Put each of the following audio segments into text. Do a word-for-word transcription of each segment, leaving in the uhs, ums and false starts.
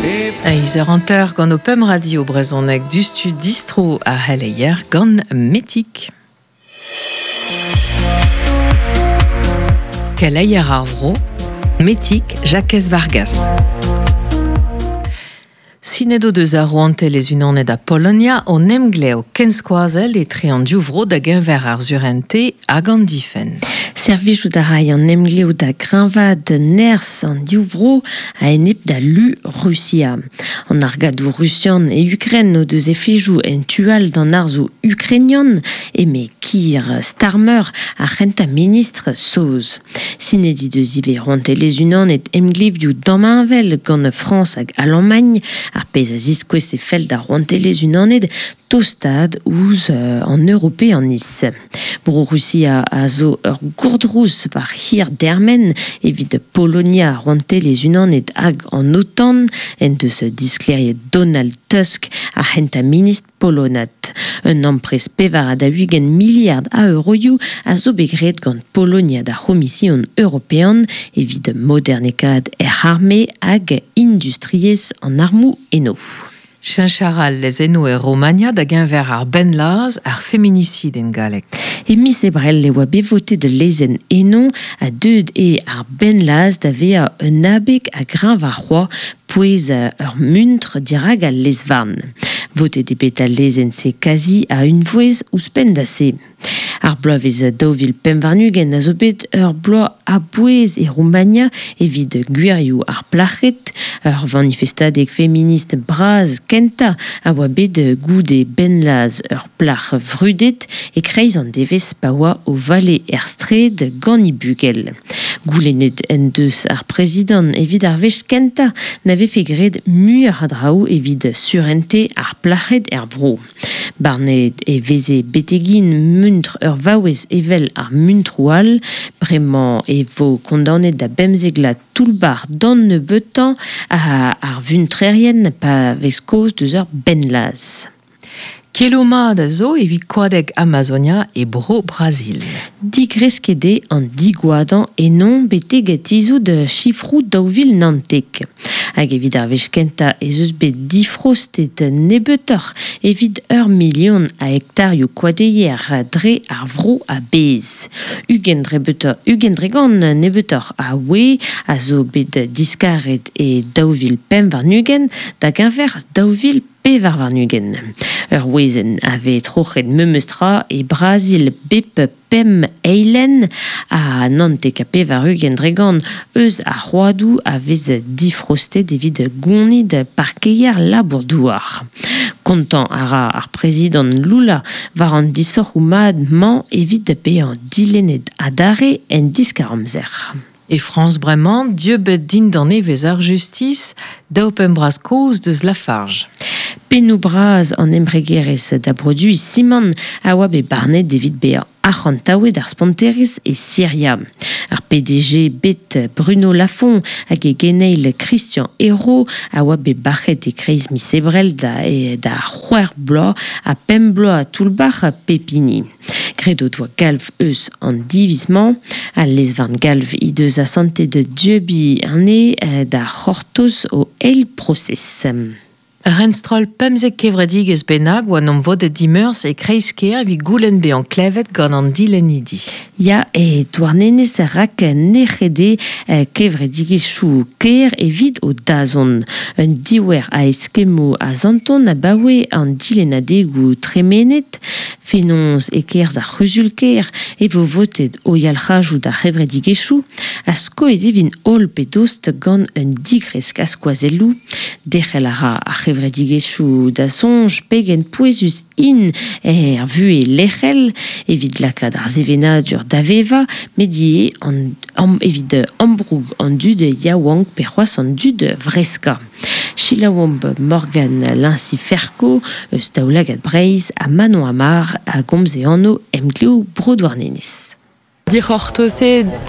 Eiz eur hanter gant o pemp radio brezhoneg dustu distro a c'helleier gant Metik. Keleier ar vro, Metik Jakez Vargas. Sinet o deus ar rouantelezh unanet a Polonia o emglev kenskoazell etre an div vro da geñver ar surente hag an difenn. Servijout a ray an emglev da greñvaat nerzh an div vro a-enep da lu Rusia. An argadoù rusian e Ukren o deus efejoù en tu all d'an arzoù ukrainian eme Keir Starmer ar c'hentañ ministr saoz. Sinet he deus ivez rouantelezh unanet emglevioù damheñvel gant Frañs hag Alamagn ar pezh a ziskouez e fell d'ar rouantelezh unanet tostaat ouzh an Europeaniz. Bro Rusia a zo ur gourdrouz war hir dermen evit Polonia rouantelezh unanet hag an OTAN en deus disklêriet Donald Tusk ar c'hentañ ministr polonat. Un amprest pevar ha daou-ugent miliard a euroioù a zo bet graet gant Polonia d'ar C'homision european evit modernekaat hec'h arme hag industriezh an armoù eno. Cheñch a ra lezennoù e Romania da geñver ar bennlazh ar feminicid en galleg. E miz Ebrel e oa bet votet lezenn eno ha deuet eo ar bennlazh da vezañ un abeg a greñv ar c'hoaz pouez ur muntr dirak al lez-varn. Votet eo bet al lezenn-se kazi a unvouezh ouzhpenn da se. Ar bloavezh daou vil pemp warn-ugent a zo bet ur bloaz a-bouez e Roumania evit gwirioù ar plac'hed, ur vanifestadeg feminist bras kentañ a oa bet goude bennlazh ur plac'h vrudet e-kreiz an devezh pa oa o vale er straed gant he bugel. Goulennet en deus ar prezidant evit ar wech kentañ na vefe graet muioc'h a draoù evit surente ar plac'hed er vro. Barnet e veze betegin muntr ur vaouez evel ar muntroù all, bremañ e vo kondaonet da bemzek vloaz toull-bac'h d'an nebeutañ ar vuntrerien pa vez kaoz deus ur bennlazh. Keloù mat a zo evit koadeg Amazonia e bro Brazil. Digresket eo an digoadañ eno betek tizhout sifroù daou vil naontek. Hag evit ar wech kentañ ez eus bet difrostet nebeutoc'h evit ur milion a hektarioù koadeier dre ar vro a-bezh. Ugent ugent dre gant nebeutoc'h a wez a zo bet diskaret e daou vil pemp warn-ugent da geñver daou vil pevar warn-ugent. Ur wezenn a vez troc'het memes tra e Brazil bep pemp eilenn ha naontek ha pevar-ugent dre gant eus ar c'hoadoù a vez difrostet evit gonid parkeier labour-douar. Kontañ a ra ar prezidant Lula war an disoc'hoù mat-mañ evit bezañ dilennet adarre en diskar-amzer. E Frañs bremañ, dieubet dindan evezh ar justis, daou pemp bras kozh deus Lafarge. Pennoù bras an embregerezh da broduiñ simant a oa bet barnet evit bezañ arc'hantaouet ar sponterezh e Siria. Ar P D G bet Bruno Lafont hag e geneil Christian Hérault a oa bet bac'het e-kreiz miz Ebrel da, e, da c'hwec'h bloaz ha pemp bloaz toull-bac'h pep hini. Graet o doa galv eus an diviz-mañ. Al lez-varn galv he deus asantet dieubiñ anezhe da c'hortoz o eil prosez. Ur pemzek kevredigezh bennak oa n'omp vodet dimeurzh e kreiz-kêr evit goulenn bezañ klevet gant an dilennidi. Ya e Douarnenez rak nec'het eo kevredigezhioù kêr evit o dazont. Un diouer a eskemmoù a zanton abaoe an dilennadegoù tremenet. Fenoz e-kerzh ar c'huzul-kêr e vo votet o yalc'hajoù d'ar c'hevredigezhioù ha skoet e vint holl pe dost gant un digresk a skoazelloù. Derc'hel a ra ar c'hevredigezhioù da soñj pegen pouezus int er vuhez lec'hel evit lakaat ar sevenadur da vevañ, met ivez an, am, evit ambroug an dud yaouank pe c'hoazh an dud vreskañ. Selaouomp Morgane Lincy-Ferco eus Daoulagad Breizh ha Manon Amar a gomz e anv Emglev Bro Douarnenez. Dic'hortoz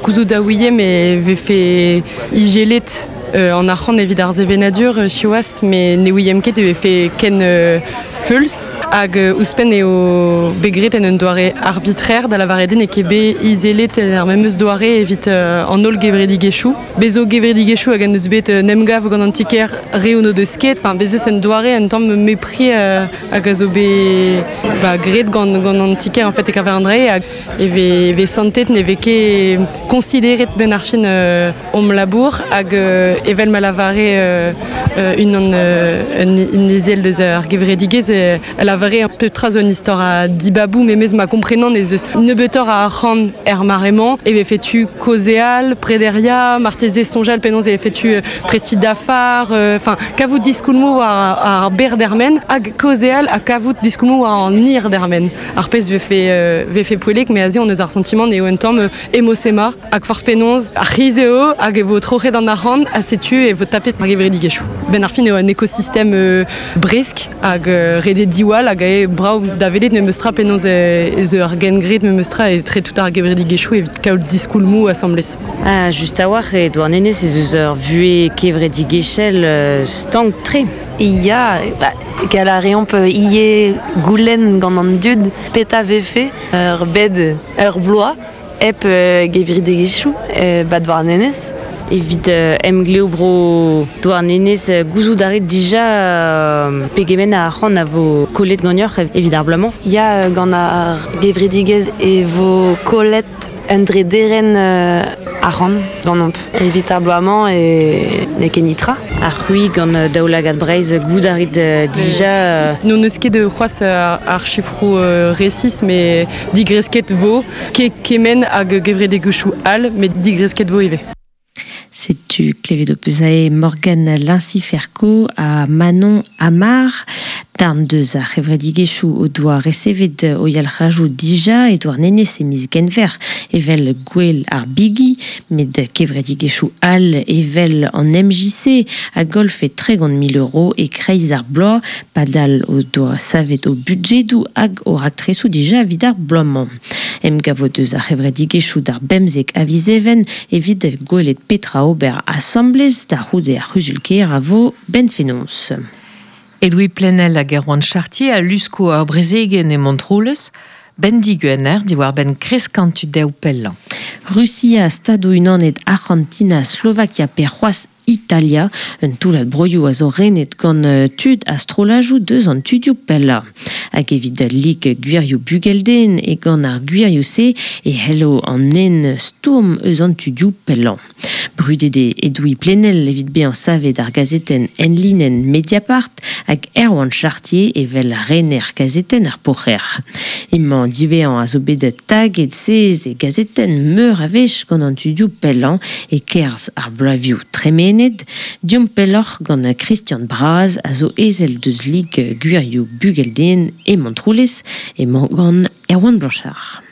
gouzout da ouie me vefe igelet euh, an arc'hant evit ar sevenadur euh, siwazh me ne ouiem ket e vefe ken euh, feuls hag euh, ouzhpenn eo bet graet en un doare arbitraire da lavaret eo n'eo ket bet izelet en ar memes doare evit euh, an holl gevredigezhioù. Bez zo gevredigezhioù hag en deus bet euh, nemgav gant an ti-kêr re o deus ket, enfin bez eus un doare un tamm mepri euh, hag a zo bet ba, graet gant, gant an ti-kêr en fait e kaver an dre hag e ve, ve santet ne vez ket consideret ben ar fin euh, om labour hag euh, evel ma lavare euh, euh, unan euh, un, un ezel deus ar gevredigezh euh, a lavare un peu tra zo un istor a dibabou memez ma komprenan ez eus nebeutoc'h a arc'hant er mare-mañ e vefe tu kaozeal, prederia, marteze soñjal penaos e vefe tu euh, presti dafar, enfin euh, kavout diskoulmoù war ar ber dermen hag kaozeal ha kavout diskoulmoù war an hir dermen. Ar pezh vefe, euh, vefe poellek, me aze on eus ar sentiment eo un tamm emosema hag forzh penaos ar c'hiz eo hag e vo troc'het an arc'hant ha setu e vo tapet ar gevredigezhioù. Ben ar fin eo un ekosistem euh, bresk hag euh, redet diwall hag eo brav da welet memes tra penaos ez ur gengred memes tra e tre tout ar gevredigezhioù evit kaout diskoulmoù asambles. Ah, just a-walc'h e Douarnenez ez eus ur vuhez kevredigezhel euh, stank tre. Ya, ba, gall a reomp ivez goulenn gant an dud petra vefe ur bed ur bloaz hep euh, gevredigezhioù euh, ba Douarnenez. Evit euh, emglev bro Douarnenez euh, gouzout a rit dija euh, pegement a arc'hant a vo kollet ganeoc'h evit ar bloaz-mañ. Ya, gant ar gevredigezh e vo kollet un drederenn euh, arc'hant ganeomp. Evit ar bloaz-mañ e n'eo ket netra. Ar c'hwi gant euh, Daoulagad Breizh goût a rit euh, dija euh, N'hon eus ket c'hoazh ar, ar chifroù euh, resis, mais digresket vo, ket kement hag gevredigezhioù all, met digresket vo ivez. Setu klevet ho peus aze Morgane Linciferco ha Manon Amar. Darn deus ar c'hevredigezhioù o doa resevet o yalc'hajoù dija e Douarnenez e miz Genver evel Gouel ar Bigi, met kevredigezhioù all evel an M J C a golfe tregont mil euro e kreiz ar bloaz, padal o doa savet o budjedoù hag o raktresoù dija evit ar bloaz-mañ. Emgavo deus ar c'hevredigezhioù d'ar bemzek a viz Even evit gwelet petra ober asamblez da c'houde ar c'huzul-kêr a vo benn fenoz. Edoui Plenel hag Erwan Chartier a lusko ar brezegen e Montroulez, ben diguener diwar ben kreskan tu dev pellañ. Russia, Stadoù-Unanet, Argentina, Slovakia pe c'hoazh Italia, un toullad broioù a zo renet gant tud a strollajoù deus an tudioù pellañ. Hag evit lig gwirioù bugelden e gant ar gwirioù-se e hello an en stourm eus an tudioù pellañ. Brudet eo Edoui Plenel evit bezañ savet ar gazetenn enlinenn Mediapart hag Erwan Chartier evel rener gazetenn ar Poc'her. Emañ diwezhañ a zo bet taget sez e gazetenn meur a wech gant an tudioù pellañ e kerzh ar bloavezhioù tremenet. Diomp pelloc'h gant Christian Braz a zo ezel deus lig gwirioù bugelden e Montroulez emañ gant Erwan Blanchard.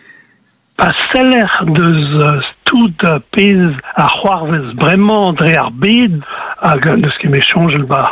Pa seller deus tout pezh ar c'hoarvez bremañ dre ar bed hag neus ket me soñjal ba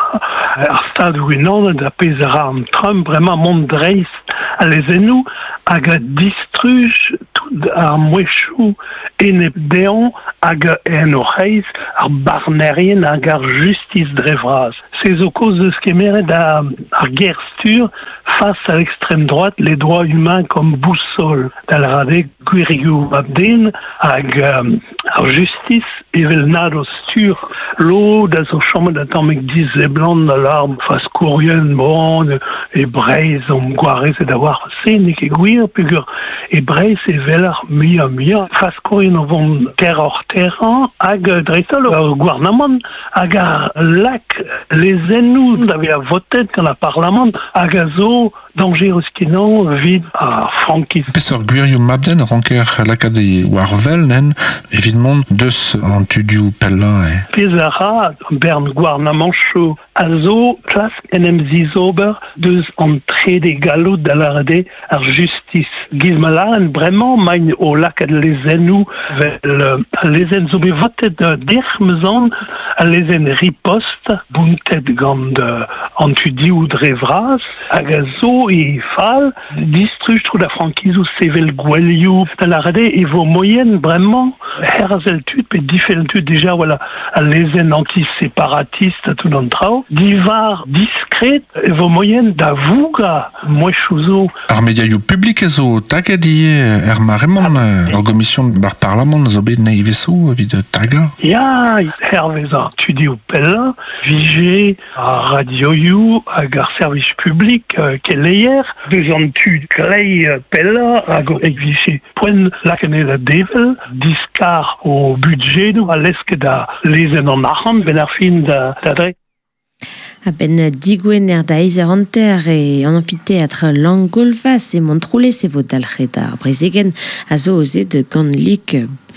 ar stadoù unanet a pezh a ra an Trump bremañ mont dreist a lezennoù hag a distruj tout ar mouezhioù enep dezhañ hag en o c'hreiz ar barnerien hag ar justis dre vras. Se zo kaoz deus kemeret ar, ar ger-stur face à l'extrême droite, les droits humains comme boussole. Da lavaret gwirioù mab-den hag euh, ar justis evel nad o stur lod a zo chomet a tammig dizeblant da lar faskourien bon e Breizh omp gwarezet a war se n'eo ket gwir peogwir e Breizh evel ar muiañ muiañ faskourien o vont terror terrañ hag dreist-holl ar gouarnamant hag ar lak lezennoù da vezañ votet gant ar parlamant hag a zo dañjerus kenañ evit ar frankiz. Peseurt gwirioù mab-den ranker lakaat e war wel nen evit mont deus an tudioù pellañ e. Pezh a ra bern gouarnamanchoù a zo klask en em zizober deus an trede galloud da lâret ar justice. Giz ma lâren bremañ maint o lakaat lezennoù vel al lezenn zo bet votet dec'h meuzan, al lezenn riposte bountet gant an tudioù dre vras hag a zo e fal distruj tro da frankizoù sevel gwelioù da lâret e vo moyen bremañ herzel tud pe difenn tud déjà voilà al lezenn anti-séparatiste tout an traoù divar diskret e vo moyen da vouga mouezhioù zo. Ar mediaioù publik zo taget ivez er mare-mañ ur gomision bar parlamant zo bet neiveso evit tagañ. Ya, hervez ar tudioù pellañ, vije ar radioioù hag ar servij publik keleier, deus an tud klei pellañ hag e vije poent lakaet da devel, diskar o budjedoù a lesket da lezenn an arc'hant ben ar fin da, da dre. A-benn digwener da eizh hanter e an amfiteatr Langolvas e Montroulez e vo dalc'het ar brezegen a zo ozet gant lik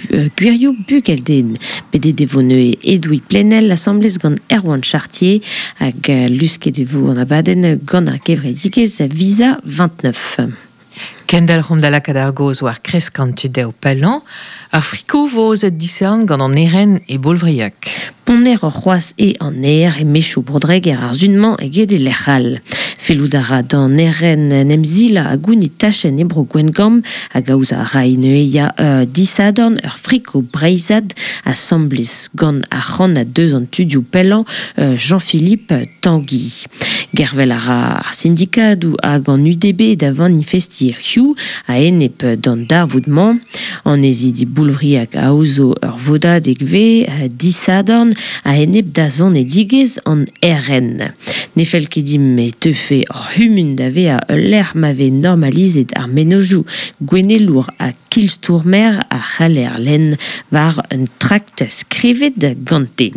gwirioù bugelden. Bedet e vo neue Edoui Plenel asamblez gant Erwan Chartier hag lusket e vo an abadenn gant ar gevredigezh Visa vingt-neuf. Kendal c'hom da lakaat ar goz war kresk an tudeo pellañ, ar friko vo ozet disean gant an eren e Boulvriac. Ponner ur c'hoaz e an aer e mechoù brodreger ar zunmañ eget e lec'hal. Fellout a ra d'an eren nemzila a gounit tachenn e bro Gwengamp hag aoz a ra ine ya uh, disadorn ur friko breizad asamblez gant ar c'han a deus an tudioù pellañ uh, Jean-Philippe Tanguy. Gervel a ra ar sindikadoù hag an U D B da manifesti hiziv a enep d'an darvoud-mañ. An ezidi Boulvriac a aozo ur vodadeg ve disadorn a enep da zonedigezh an R N. Ne fell ket dimp e teufe ur c'humun da vezañ ul lec'h ma vez normalizet ar mennozhioù gouennelour ha kilstourmer a c'haller lenn war un trakt skrivet gante.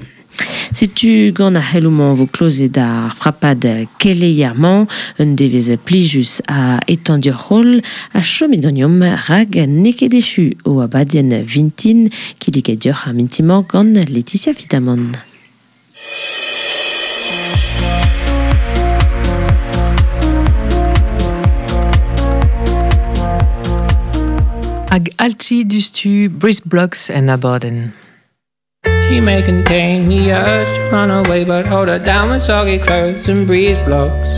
Setu gant ar c'heloù-mañ vo klozet ar frapad keleier-mañ, un devezh plijus a etendur c'holl a chomet ganeomp rag n'eo ket echu o abadenn vintin kinniget deoc'h ar mintin-mañ gant Laetitia Fitamant. Hag alti dustu Brice Blocks en abadenn. She may contain the urge to run away, but hold her down with soggy clothes and breeze blocks.